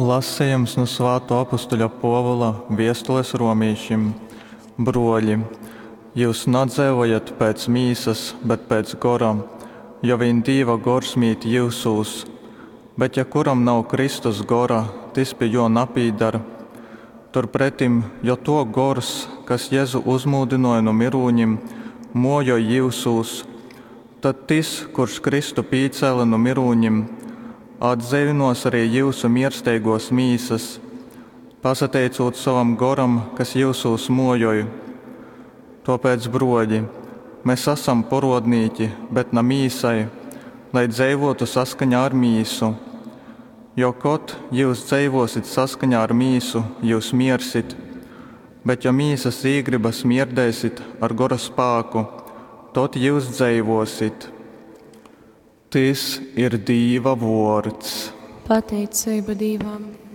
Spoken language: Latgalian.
Lasejums nu svātō apustuļa Pōvula viestules romīšim. Brōļi, jyus nadzeivojat pēc mīsas, bet pēc gora, jo vīn Dīva Gors mīt jyusūs. Bet ja kuram nav Kristus Gora, tys pi Jō napīdar. Turpretim, jo Tō Gors, kas Jezu uzmūdynōja nu myrūņim, mōjoj jyusūs, tad Tys, kurs Kristu pīcēle nu myrūņim, atdzeivynōs arī jyusu miersteigōs mīsas, pasateicūt sovam Goram, kas jyusūs mōjoj. Tōpēc, brōļi, mes asam porōdnīki, bet na mīsai, lai dzeivōtu saskaņā ar mīsu. Jo kod jyus dzeivōsit saskaņā ar mīsu, jyus miersit, bet jo mīsas īgrybas mierdeisit ar Gora spāku, tod jyus dzeivōsit. Tys ir Dīva vōrds. Pateiceiba Dīvam.